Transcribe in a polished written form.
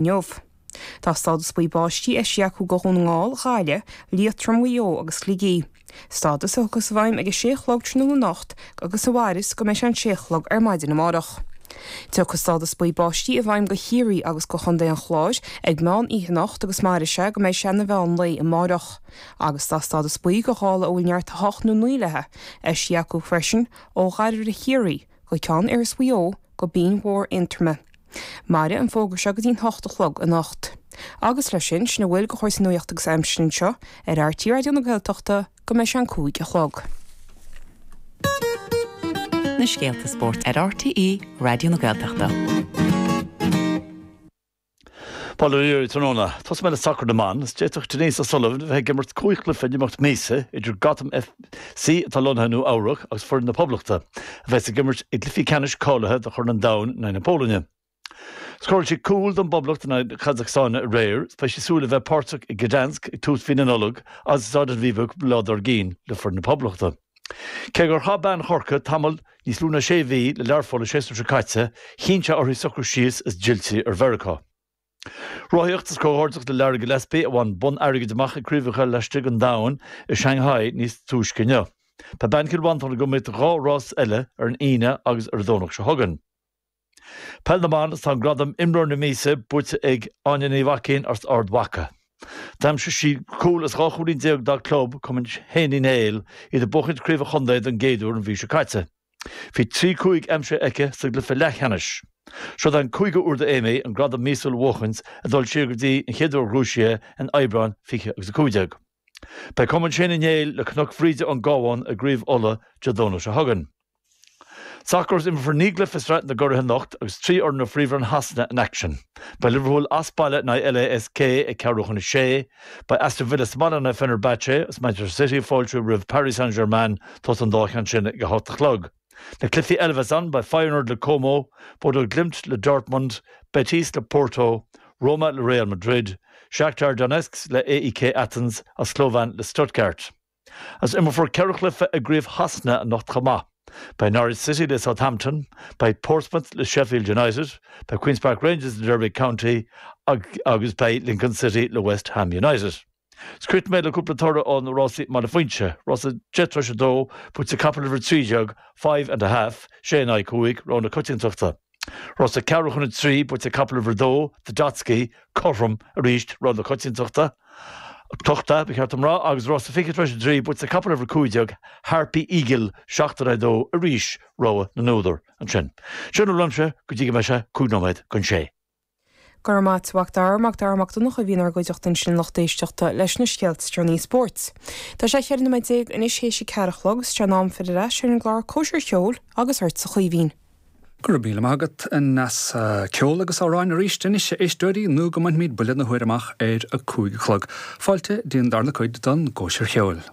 Inniu. Tá stádas buí báistí eisithe acu do Dhún na nGall, Gaillimh, Liatroim, Mhaigh Eo agus Shligigh. Stádas a thiocfas i bhfeidhm ag a sé a chlog tráthnóna anocht agus a mhairfeas go mbeidh sé an sé a chlog ar maidin amárach. Tiocfaidh stádas buí báistí i bhfeidhm do Chiarraí agus do Chontae an Chláir ag meán oíche anocht agus mairfidh sé go mbeidh sé ina mheán lae amárach. Agus tá stádas buí do ghála a bhfuil neart 8 nó 9 léi eisithe acu freisin ó Dhairbhre Chiarraí go Ceann Iorrais Mhaigh Eo go Binn Mhór Aontroma. Mairfidh an fógra seo go dtí'n hocht a chlog anocht. Agus leis sin, sin a bhfuil de chúrsaí nuachta agus aimsire anseo ar RTÉ Raidió na Gaeltachta go mbeidh sé an 5 a chlog. Na scéalta spóirt ar RTÉ Raidió na Gaeltachta. Bail ó Dhia oraibh tráthnóna. Tosóidh mé le sacar na mban. Is d'fhéadfadh Denise O'Sullivan a bheith ag imirt 5 chluiche in imeacht míosa idir Gotham FC atá lonnaithe i Nua Eabhrac agus foireann na Poblachta, a bheas ag imirt i gcluichí ceannais cáilithe do Chorn an Domhain in aghaidh na Polainne. Scóráil sí cúl don bPoblacht in aghaidh na Casacstáine aréir is beidh sí ag súil le bheith páirteach i Gdansk ag tús mhí na Nollag agus i Staid Aviva cúpla lá dár gcionn le foireann na Poblachta. Cé gur chaith bean Chorcaí tamall níos lú ná sé mhí le Learpholl an séasúr seo caite, chinn sé uirthi socrú síos is d'fhill sí ar Mheiriceá. Rothaíocht is comhghairdeas le Lara Gillespie a bhain bonn airgid amach ag Craobhacha Laistigh an Domhain i Shanghai níos túisce inniu. Beidh bean Chill Mhantáin ag iomaíocht 2 rás eile ar an Aoine agus ar an Domhnach seo chugainn. Peil na mBan is tá an gradam Imreoir na Míosa buaite ag Áine Ní Mhaicín as Ard Mhacha. D'aimsigh sí cúl is 12 chúilín dá club, Cumann Shéan Uí Néill, iad ag buachaint Craobh an Chontae don gcéad uair an mhí seo caite. Bhí 3 5 aimsithe aici sa gcluiche leathcheannais. Seo an cúigiú uair d'Amy an gradam míosúil a bhuachaint, ag dul siar go dtí an chéad uair a ghnóthaigh sí é in Aibreán 20 agus 15. Beidh Cumann Shéan Uí Néill le Cnoc Bhríde ón gCabhán i gCraobh Uladh Dé Domhnaigh seo chugainn. Sacar is imreofar 9 gcluiche i Sraith na gCuradh anocht agus 3 fhoireann ó Phríomhroinn Shasana in aicsean. Beidh Liverpool as baile in aghaidh LASK ag ceathrú chun a sé, beidh Aston Villa sa mbaile in aghaidh Fenerbahce agus Manchester City ag fáiltiú roimh Paris Saint-Germain, tosóidh an dá cheann sin ag a hocht a chlog. Na cluichí eile a bheas ann, beidh Feyenoord le Como, Bodo Glimt le Dortmund, Betis le Porto, Roma le Real Madrid, Shakhtar Donetsk le AEK Athens agus Slovan le Stuttgart. Agus imreofar 4 chluiche i gCraobh Shasana anocht chomh maith. Beidh Norwich City le Southampton, beidh Portsmouth le Sheffield United, beidh Queens Park Rangers le Derby County agus beidh Lincoln City le West Ham United. Is críochnóidh mé le cúpla toradh ó na rásaí i mBaile Phuinse. Rása 10 tar éis 2, buaite ag capall uimhir 13, Five and a Half, 6 in aghaidh 5, rogha na coitiantachta. Rása ceathrú chun a trí, buaite ag capall uimhir 2, The Dotsky, cothrom arís, rogha na coitiantachta, tochta, ba cheart dom rá, agus rása 20 tar éis a trí, buaite ag capall uimhir 15, Harpy Eagle, 7 in aghaidh 2, arís, rogha na n-údar ansin. Sin a bhfuil uaimse go dtí go mbeidh sé 5 nóiméad don sé. Go raibh maith a't, a Mhac Dara, Mac Dara Mac Donncha a bhí inár gcuideachta ansin lucht éisteachta leis na scéalta is deireanaí spóirt. Tá sé 14 nóiméad anois théis a ceathair a chlog is sé an am filleadh ar ais ar an gclár Cóisir Cheoil agus ortsa a Chaoimhín. Go raibh míle maith agat, a Neasa. Ceol agus amhráin arís anois, a éisteoirí, nó go mbainfimid buille na huaire amach ar a 5 a chlog. Fáilte dtí an darna cuid don gCóisir Cheoil.